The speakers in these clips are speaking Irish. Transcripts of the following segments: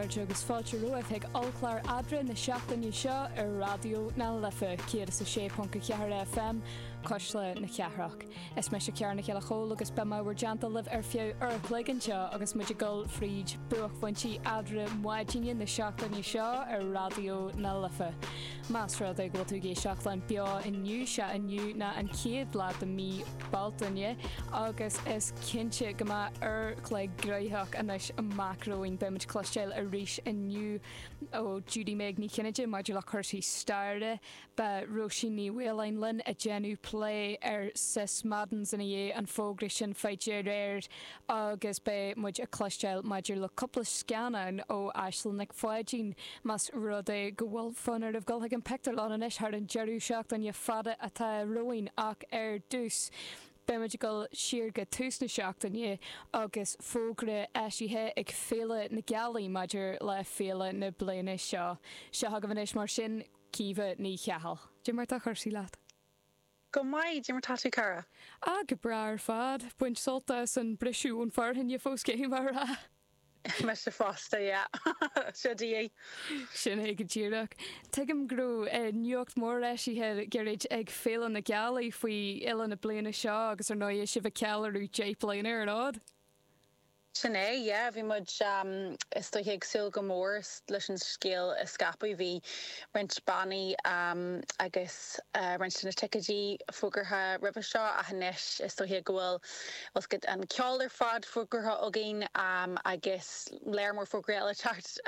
chairde agus fáilte romhaibh chuig ollchlár Aibreáin na seachtaine seo ar Raidió na Life 106.4 FM, Cuisle na Cathrach. Is mise Ciara Nic Giolla Chóill agus beidh mé i bhur dteannta libh ar feadh uair a chloig anseo agus muid ag dul fríd buaicphointí Aibreáin maidine na seachtaine seo ar Raidió na Life. Más rud é go bhfuil tú ag éisteacht linn beo inniu, sea inniu ná an chéad lá de mí Bealtaine agus is cinnte go mbeidh uair a chloig gnoitheach anois amach romhainn. Beidh muid ag cloisteáil arís inniu ó Judy Meg Ní Chinnéide maidir le cúrsaí staire, Beidh Róisín Ní Mhaoláin linn ag déanamh plé ar Sis Maddens ina dhiaidh an fógra sin faighte aréir agus beidh muid ag cloisteáil maidir le cúpla scannán ó Aisling Nic Pháidín más rud é go bhfuil fonn oraibh dul chuig an pictiúrlann anois thar an deireadh seachtaine fada atá romhainn ach ar dtús beidh muid ag dul siar go tús na seachtaine agus fógra eisithe ag Féile na Gealaí maidir le féile na bliana seo. Seo chugaibh anois mar sin. Caoimhe Ní Cheachail. Cad é mar tá cúrsaí leat? Go maith, cad é mar tá tú cara? Ah, go breá ar fad. Baint sult as an briseadh ón fearthainn fós caithfidh mé a rá. Mise fosta, yeah. Seo de dhíth. Sin é go díreach. Tuigim go raibh nuacht mhór eisithe le gairid ag Féile na Gealaí faoi fhéile na bliana seo agus ar ndóigh sibh ag ceiliúradh 10 bliana ar an fhód. Sin é, yeah. Bhí muid, is dóiche, ag súil go mór leis an scéal a scaipeadh. Bhí roinnt bannaí agus roinnt de na ticéidí fógartha roimhe seo ach anois is dóiche go bhfuil bhfuil 's agat an ceol ar fad fógartha againn agus léar mór fógraí eile ag teacht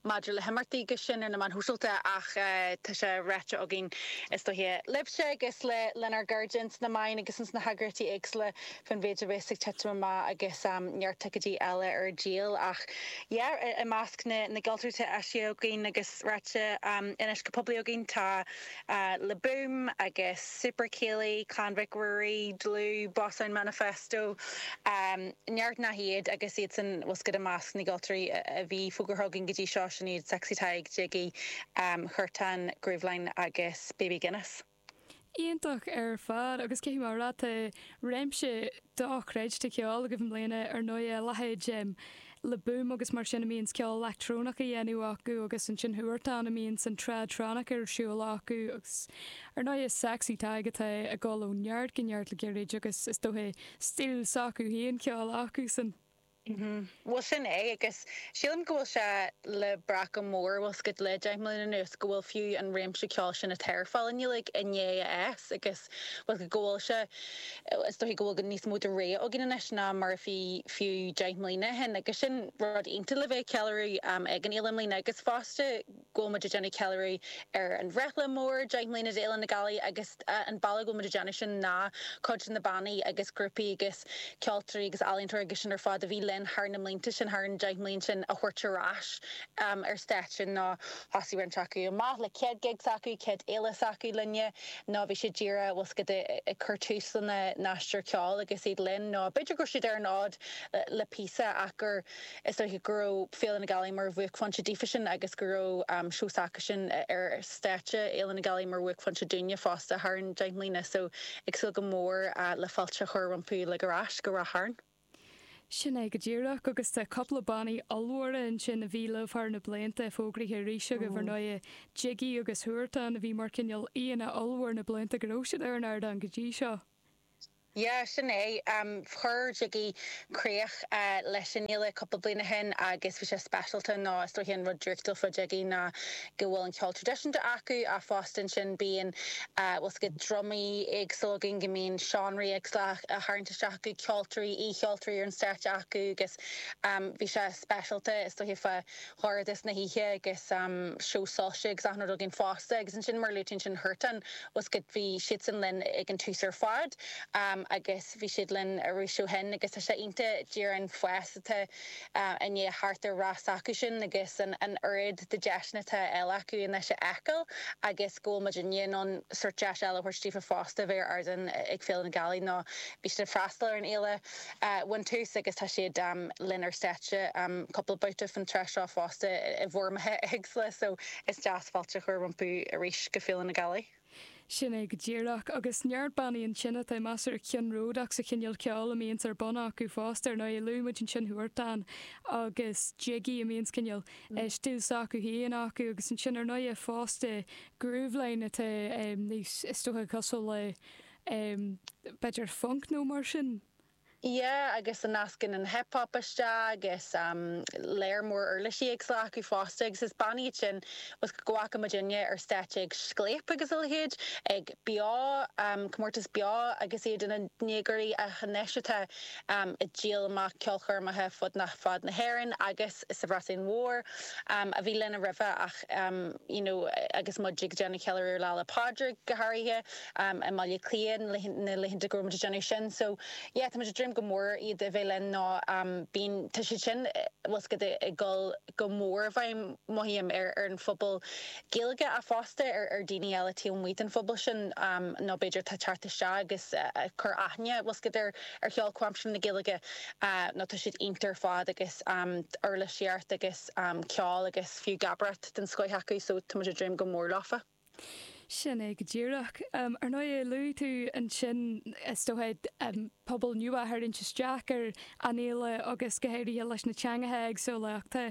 maidir le himeachtaí agus sin ar na meáin shóisialta ach tá sé ráite againn is dóiche libhse agus le lenár gcairde ins na meáin agus ins na heagraíochtaí éagsúla faoin mhéid a bheas ag titim amach agus neart ticéidí eile ar díol ach yeah i measc na na gceoltóirí atá eisithe againn agus ráite anois go poiblí againn tá Le Boom agus Super Céilí, Clann Mhic Ruairí, Dlúth, Boss Sound Manifesto, neart nach iad agus iadsan bhfuil 's agat i measc na gceoltóirí a bhí fógartha againn go dtí seo sin iad Sexy Tadhg, Jiggy, Huartan, Grooveline agus Baby Guinness. Iontach ar fad agus caithfidh mé a rá tá réimse dochreidte ceoil agaibh i mbliana ar ndóigh, a leithéid Le Boom agus mar sin a mbíonns ceol leictreonach á dhéanamh acu agus ansin Huartan a mbíonns an tradtronic ar siúl acu agus ar ndóigh Sexy Tadhg atá ag dul ó neart go neart le gairid agus is dóiche stíl s'acu féin ceoil acusan. Bhuel sin é agus sílim go bhfuil sé le brath go mór, bhfuil 's agat, le 10 mbliana anuas go bhfuil fiú an réimse ceoil sin atá ar fáil i nGaeilge i ndiaidh a fhás agus bhfuil 's agat go bhfuil sé, is dóichí go bhfuil níos mó de rogha againn anois ná mar a bhí fiú 10 mbliana ó shin agus sin rud iontach le bheith ag ceiliúradh ag an fhéile i mbliana agus fosta go bhfuil muid ag déanamh ceiliúradh ar an bhreithlá mór, 10 mbliana d'Fhéile na Gealaí agus an bealach go bhfuil muid ag déanamh sin ná cuid de na bannaí agus grúpaí agus ceoltóirí agus ealaíontóirí agus sin ar fad a bhí linn thar na mblianta sin, thar an 10 mbliain sin a thabhairt ar ais ar stáitse nó thosaigh roinnt acu amach le céad gig s'acu, céad fhéile s'acu linne nó bhí siad díreach, bhfuil 's agat, ag cur tús lena n-aistear ceoil agus iad linn nó b'fhéidir go raibh siad ar an fhód le píosa ach gur Is dóiche go raibh Féile na Gealaí mar bhuaicphointe daofasan agus go raibh seó s'acusan ar stáitse Fhéile na Gealaí mar bhuaicphointe dúinne fosta thar an 10 mbliana so ag súil go mór le fáilte a chur rompu uilig ar ais go Ráth Chairn. Sin é go díreach agus tá cúpla bannaí ollmhóra ansin a bhí libh thar na blianta fógraithe arís agaibh ar ndóighe, Jiggy agus Huartan a bhí mar cineál aíonna ollmhór na blianta go raibh siad ar an ardán go dtí seo. Yeah, sin é. Chuir Jiggy críoch leis an fhéile cúpla bliain ó shin agus bhí sé speisialta nó is dóiche an rud draíochtúil fá Jiggy ná go bhfuil an ceol traidisiúnta acu ach fosta ansin bíonn bhfuil 's agat drumaí éagsúla againn, go mbíonn seánraí éagsúla á tharraingt isteach acu, ceoltóirí, aoicheoltóirí ar an stáitse acu agus bhí sé speisialta is dóiche fá dhorchadas na hoíche agus seó soilse agus achan rud againn fosta agus ansin mar a luaigh tú ansin Huartan bhfuil 's agat bhí siadsan linn ag an tús ar fad agus bhí siad linn arís ó shin agus tá sé iontach díreach an fás atá i ndiaidh theacht ar rath s'acusan agus an an oiread de deiseanna atá eile acu anois a fheiceáil agus go bhfuil muid in ann sórt deis eile a thabhairt daofa fosta a bheith ar ardán ag Féile na Gealaí nó bhí siad ag freastal ar an fhéile ón tús agus tá siad linn ar stáitse cúpla babhta faoin tráth seo fosta i bhfoirmeacha éagsúla so is deas fáilte a chur rompu arís go Féile na Gealaí. Sin é go díreach. Agus neart bannaí ansin atá measartha ceannródaíoch sa chineál ceoil a mbíonns ar bun acu fosta. Ar ndóigh, luaigh muid ansin Huartan agus Jiggy a mbíonns cineál stíl s'acu féin acu agus ansin ar ndóigh fosta Grooveline atá níos, is dócha, cosúil le b'fhéidir funk nó mar sin. Yeah, agus a nascann an hip hop isteach agus léar mór uirlisí éagsúla acu fosta agus is bannaí iad sin bhfuil go bhfaca muidinne ar stáitse ag Scléip agus a leithéid, ag Beo, comórtas Beo agus iad ina ndéagóirí ach anois atá ag díol amach ceolchoirmeacha fud fad na hÉireann agus sa Bhreatain Mhór a bhí linn roimhe ach you know agus muid ag déanamh ceiliúradh ar Lá 'le Pádraig go háirithe i mBaile Átha Cliath na laethanta go raibh muid ag déanamh sin so yeah tá muid ag dréim go mór iad a bheith linn nó bíonn tá siad sin bhfuil 's agat ag dul go mór i bhfeidhm mothaím ar ar an phobal Gaeilge ach fosta ar ar daoine eile taobh amuigh den phobal sin nó b'fhéidir atá ag teacht isteach agus ag cur aithne bhfuil 's agat ar ar cheol comhaimseartha na Gaeilge nó tá siad iontach ar fad agus uirlisíocht agus ceol agus fiú gabaireacht den scoith acu so tá muid ag dréim go mór leofa. Sin é go díreach. Ar ndóigh, luaigh tú ansin, is dócha, pobal nua a tharraingt isteach ar an fhéile agus go háirithe leis na teangacha éagsúla ach tá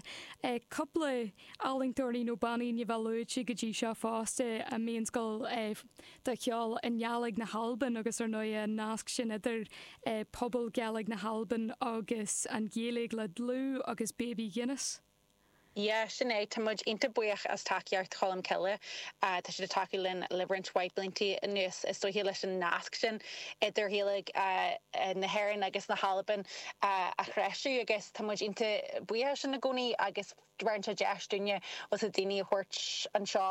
cúpla ealaíontóirí nó bannaí ní bheith luaite go dtí seo fosta a mbíonn ag gabháil do cheol i nGàidhlig na hAlban agus ar ndóigh an nasc sin idir pobal Gàidhlig na hAlban agus an Ghaeilge le Dlúth agus Baby Guinness. Yeah, sin é. Tá muid iontach buíoch as tacaíocht Cholmcille. Tá siad ag tacú linn le roinnt mhaith blianta anuas, is dóiche leis an nasc sin idir Ghaeilge na hÉireann agus na hAlban a threisiú agus tá muid iontach buíoch as sin i gcónaí agus bheireann sé deis dúinne bhfuil 's agat daoine a thabhairt anseo,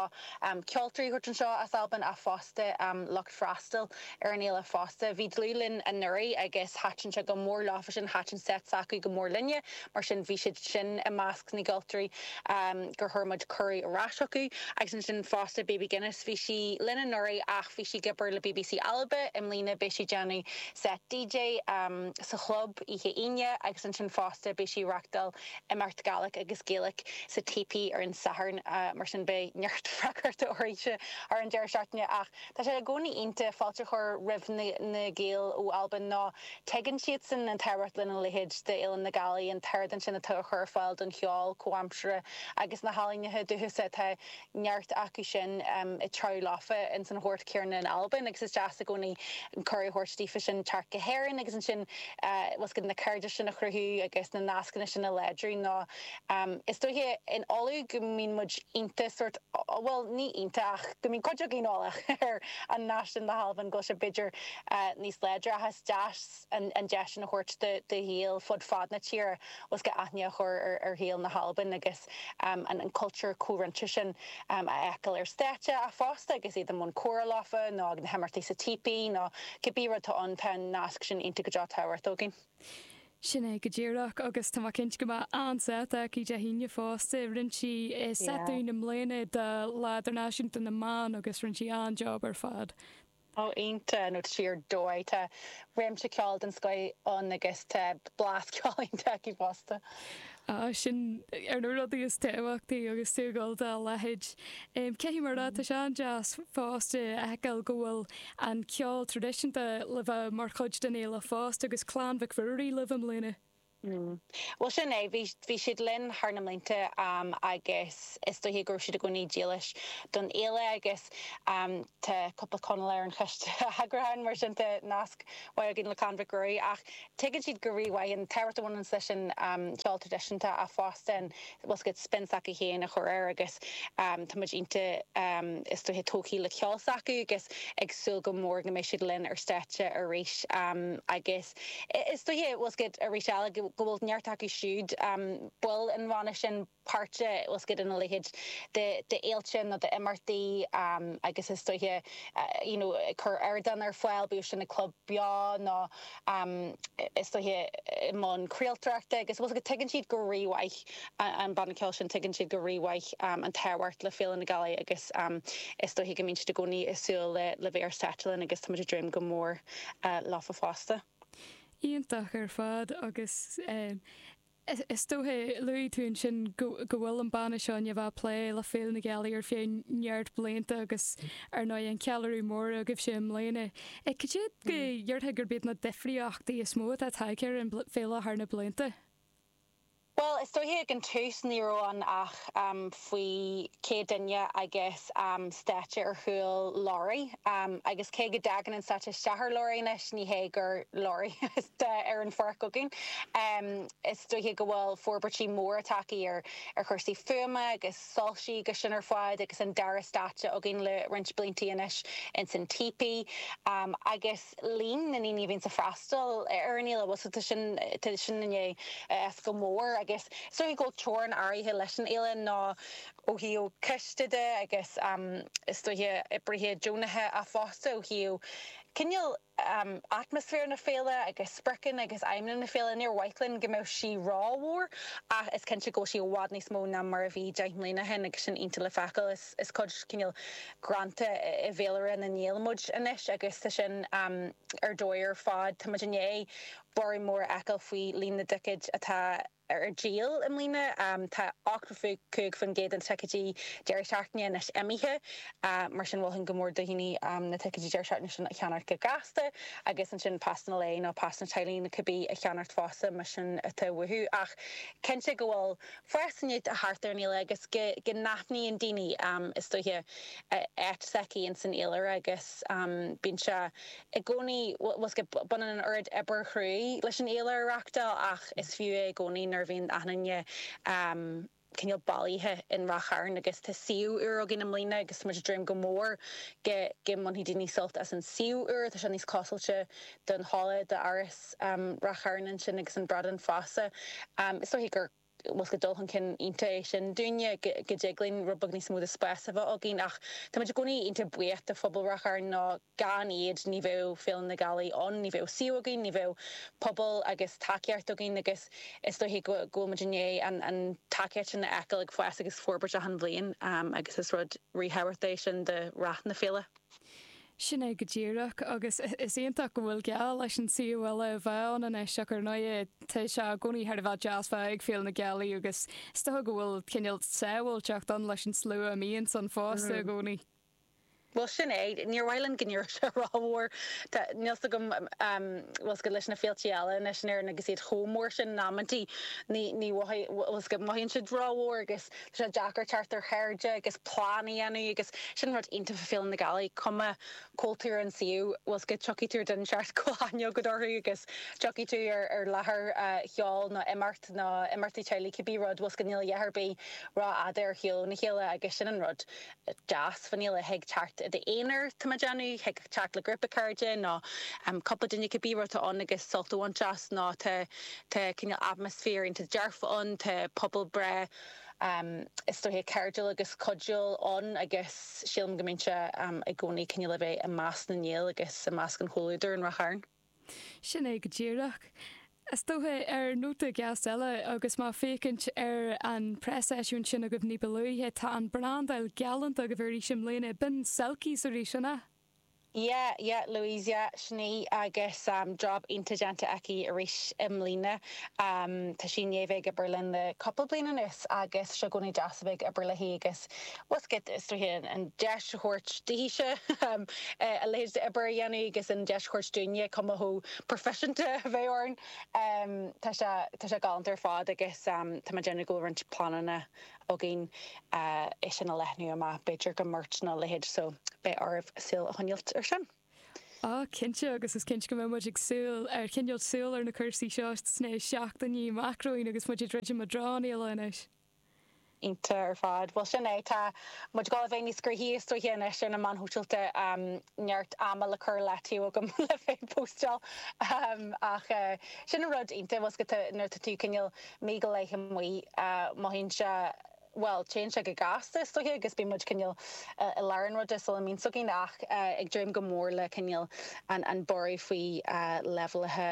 ceoltóirí a thabhairt anseo as Albain ach fosta lucht freastail ar an fhéile fosta. Bhí Dlúth linn anuraidh agus thaitin sé go mór leofa sin, thaitin set s'acu go mór linne. Mar sin, bhí siad sin i measc na gceoltóirí gur chuir muid cuireadh ar ais chucu. Agus ansin fosta, Baby Guinness, bhí sí linn anuraidh ach bhí sí ag obair le bbc Alba. I mbliana beidh sí ag déanamh set DJ sa chlub oíche Aoine agus ansin fosta beidh sí ag reachtáil imeacht Gàidhlig agus Gaelic sa Tepee ar an Satharn. Mar sin beidh neart freagrachta uirthise thar an deireadh seachtaine ach tá sé i gcónaí iontach fáilte a chur roimh na Gaeil ó Albain nó Tuigeann siadsan an tábhacht lena leithéid d'Fhéile na Gaelaí, an t-ardán sin atá á chur ar fáil don cheol comhaimseartha agus na healaíona dúchasacha. Tá neart acu sin ag treabhadh leofa ins an ghort céanna in Albain agus is deas i gcónaí an cuireadh a thabhairt daofa sin teacht go hÉirinn agus ansin bhfuil 's agat na cairdis sin a chruthú agus na nascanna sin a láidriú nó is dóiche in Uladh go mbíonn muid iontach sórt, bhuel ní iontach ach go mbíonn cuid againn eolach ar an nasc sin le hAlbain go bhfuil sé b'fhéidir níos láidre ach is deas an deis sin a thabhairt do Ghaeil fud fad na tíre bhfuil 's agat aithne a chur ar Ghaeil na hAlban agus an cultúr comhroinnte sin a fheiceáil ar stáitse ach fosta agus iad i mbun comhrá leofa nó ag na himeachtaí sa Teepee nó cibé rud atá ann tá an nasc sin iontach go deo tábhachtach againn. Sin é go díreach, agus tá mé cinnte go mbeidh an-seit aici Dé hAoine fosta. Rinne sí seit dúinn i mbliana do Lá Idirnáisiúnta na mBan agus rinne sí an-job ar fad. Ó, iontach, nó tá sí ar dóigh. Tá réimse ceoil den scoith ann agus tá blas ceoil iontach aici fosta. Á, sin ar na rudaí is tábhachtaí agus tú ag dul dá leithéid. Caithfidh mé a rá, tá sé an-deas fosta a fheiceáil go bhfuil an ceol traidisiúnta le bheith mar chuid den fhéile fosta agus Clann Mhic Ruairí libh i mbliana. Bhuel, sin é. Bhí, bhí siad linn thar na mblianta agus is dóiche go raibh siad i gcónaí dílis don fhéile agus tá cúpla Conallach ar an choiste eagrúcháin mar sin tá nasc mhaith againn le Clann Mhic Ruairí ach Tuigeann siad go rímhaith an tábhacht a bhaineann leis an cheol traidisiúnta ach fosta an, bhfuil 's agat, spin s'acu féin a chur air agus tá muid iontach, is dóiche, tógtha le ceol s'acu agus ag súil go mór go mbeidh siad linn ar stáitse arís agus is dóiche, bhfuil 's agat, arís eile go bhfuil neart acu siúd, baill an bhanna sin, páirteach, bhfuil 's agat, ina leithéid d'fhéilte nó d'imeachtaí agus is dóiche you know ag cur ardán ar fáil, bíodh sin ag Club Beo nó is dóiche i mbun craoltóireachta agus bhfuil 's agat, tuigeann siad go rímhaith an banna ceoil sin, tuigeann siad go rímhaith an tábhacht le Féile na Gaelaí agus is dóiche go mbíonn siad i gcónaí ag súil le bheith ar stáitse linn agus tá muid ag dréim go mór leofa fosta. Iontach ar fad agus. Is dócha, luaigh tú ansin go bhfuil an banna seo i ndiaidh a bheith ag plé le Féile na Gealaí ar feadh neart blianta agus ar ndóigh an ceiliúradh mór agaibhse i mbliana. Cad é go ndéarfá gurb iad na difríochtaí is mó atá tagtha ar an bhféile thar na blianta? Bhuel, is dóiche ag an tús ní raibh ann ach faoi 100 duine agus stáitse ar chúl leoraí. Agus cé go dtagann an stáitse isteach ar leoraí anois, ní hé gur leoraí atá ar an pháirc againn. Is dóiche go bhfuil forbairtí móra tagtha ar chúrsaí fuaime agus soilsí agus sin ar fad agus an dara stáitse againn le roinnt blianta anois ins an Teepee. Agus. líon na ndaoine a bhíonns ag freastal ar an fhéile, bhuel, tá sin, tá sin i ndiaidh fhás go mór agus is dóiche go bhfuil teorainn áirithe leis an fhéile nó ó thaobh ciste de agus is dóiche oibrithe deonacha ach fosta ó thaobh cineál atmaisféar na féile agus spriocanna agus aidhmeanna na féile. Níor mhaith linn go mbeadh sí rómhór ach is cinnte go bhfuil sí i bhfad níos mó ná mar a bhí 10 mbliana ó shin agus sin iontach le feiceáil. Is cuid cineál greanta i bhféilire na bhféile muid anois agus tá sin ar dóigh ar fad. Tá muid i ndiaidh borradh mór a fheiceáil faoi líon na dticéid atá ar díol i mbliana. Tá 85% de na ticéidí deireadh seachtaine anois imithe, mar sin mholfainn go mór do dhaoine na ticéidí deireadh seachtaine sin a cheannacht go gasta agus ansin pasanna lae nó pasanna teaghlaigh nó cibé a cheannacht fosta más sin atá uathu. Ach cinnte go bhfuil fás i ndiaidh theacht ar an fhéile agus go n-aithníonn daoine, is dóiche, áit s'aici ins an fhéilire agus bíonn sé i gcónaí, bhfuil 's agat, baineann an oiread obair chruaidh leis an fhéile a reachtáil ach is fiú é i gcónaí nuair a bhíonn achan duine cineál bailithe in Ráth Chairn agus tá suíomh úr againn i mbliana agus tá muid ag dréim go mór go go mbainfidh daoine sult as an suíomh úr, tá sé níos cosúilte don halla d'Áras Ráth Chairn ansin agus an Bradán fosta. Is dóiche gur bhfuil 's agat dul chun cinn iontach é sin dúinne, go dtig linn rud beag níos mó de spás a bheith againn ach tá muid i gcónaí iontach buíoch de phobal Ráth Chairn nó gan iad ní bheadh Féile na Gealaí ann, ní bheadh suíomh againn, ní bheadh pobal agus tacaíocht againn agus is dóiche go bhfuil muid i ndiaidh an tacaíocht sin a fheiceáil ag fás agus forbairt achan bhliain agus is rud ríthábhachtach é sin do rath na féile. Sin é go díreach, agus is iontach go bhfuil geall leis an suíomh eile a bheith ann anois, ach ar ndóigh tá sé i gcónaí thar a bheith deas bheith ag Féile na Gealaí agus is dócha go bhfuil cineál sábháilteacht ann leis an slua a mbíonns ann fosta i gcónaí. Bhuel, sin é. Níor mhaith linn go n-éireodh sé rómhór. Tá, níl 's agam, bhfuil 's agat leis na féiltí eile anois in Éirinn agus iad chomh mór sin in amantaí, ní, ní mhothaigh, bhfuil 's agat, mothaíonn siad rómhór agus Tá sé deacair teacht ar chairde agus plean a dhéanamh agus sin rud iontach fá Féile na Gealaí, cuma cá bhfuil tú ar an suíomh, bhfuil 's agat, tiocfaidh tú ar duine inteacht go bhfuil aithne agat orthu agus tiocfaidh tú ar ar láthair cheoil nó imeacht nó imeachtaí teaghlaigh, cibé rud, bhfuil 's agat, níl a dhath ar bith rófhada ar shiúl óna chéile agus sin an rud deas fán fhéile, thig teacht i d'aonar, tá mé ag déanamh, thig teacht le grúpa cairde nó cúpla duine, cibé rud atá ann agus sult a bhaint as nó tá Tá cineál atmaisféar iontach dearfach ann, tá pobal breá, is dóiche, cairdiúil agus cuidiúil ann agus sílim go mbíonn sé i gcónaí cineál a bheith i measc na nGael agus i measc an chomhluadair in Ráth Chairn. Sin é go díreach. Is dócha, ar nóta deas eile, agus mé ag féachaint ar an preaseisiúint sin agaibh ní ba luaithe, tá an brandáil galánta agaibh arís i mbliana. B'in Selkies arís, an ea? Yeah, yeah, Louise, yeah, sin í agus job iontach déanta aici arís i mbliana. Tá sí i ndiaidh bheith ag obair linn le cúpla bliain anuas agus sé i gcónaí deas a bheith ag obair léi agus bhfuil 's agat, is dóiche an deis a thabhairt daoithe a leithéid d'obair a dhéanamh agus an deis a thabhairt dúinne cuma chomh proifisiúnta a bheith orainn. Tá sé, tá sé galánta ar fad agus tá mé ag déanamh go bhfuil roinnt pleananna againn é sin a leathnú amach, b'fhéidir go mBeirt nó a leithéid, so beidh oraibh súil a choinneáilt ar sin. Á, cinnte, agus is cinnte go mbeidh muid ag súil, ar choinneáilt súil ar na cúrsaí seo sna seachtainí amach romhainn agus muid ag druidim i dtreo an fhéile anois. Iontach ar fad. Bhuel, sin é, tá muid ag dul a bheith níos gnoithí is dóiche anois ar na meáin shóisialta, neart ama le cur le taobh agam le bheith ag póstáil ach sin an rud iontach, bhfuil 's agat, nuair atá tú cineál mí go leith amuigh, mothaíonn sé. bhuel, téann sé go gasta is dóiche agus bíonn muid cineál i lár an ruda sula mbíonn 's againn ach ag dréim go mór le cineál an borradh faoi leibhéalacha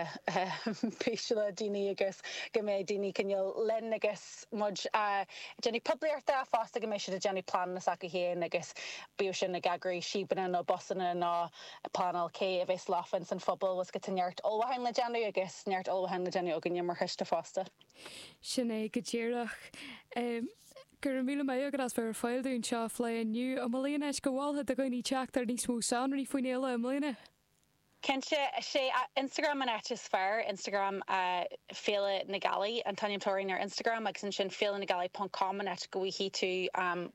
píseala daoine agus go mbeidh daoine cineál linn agus muid ag déanamh poiblíochta fosta go mbeidh siad ag déanamh pleananna s'acu féin agus bíodh sin ag eagrú síobanna nó busanna nó ag pleanáil cé a bheas leofa ins an phobal bhfuil 's agat tá neart ullmhúcháin le déanamh agus neart ullmhúcháin le déanamh againne mar choiste fosta. Sin é go díreach. Go raibh míle maith agat as bheith ar fáil dúinn anseo a phlé inniu. An bhfuil aon áit go mholfá do dhaoine teacht ar níos mó sonraí faoin fhéile i mbliana? Cinnte, is é Instagram an áit is fearr, Instagram Féile na Gealaí an t-ainm atá orainn ar Instagram agus ansin féilenagealaí ponc com an áit go bhfaighidh tú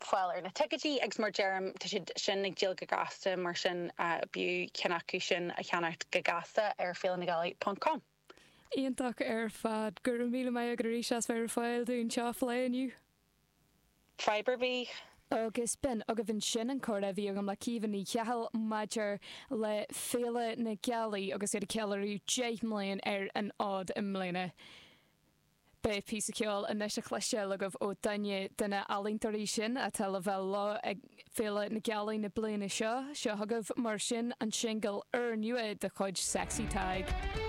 fáil ar na ticéidí agus mar deirim tá siad sin ag díol go gasta mar sin b'fhiú ceann acu sin a cheannacht go gasta ar féilenagealaí ponc com. Iontach ar fad. Go raibh míle maith agat arís as bheith ar fáil dúinn anseo a phlé inniu. Fadhb ar bith. Agus b'in agaibh ansin an comhrá a bhí agam le Caoimhe Ní Cheachail maidir le Féile na Gealaí agus iad ag ceiliúradh 10 mbliain ar an fhód i mbliana. Beidh píosa ceoil anois a chloisteáil agaibh ó duine de na h-ealaíontóirí sin atá le bheith leo ag Féile na Gealaí na bliana seo. Seo chugaibh mar sin an singil úrnua de chuid Sexy Tadhg.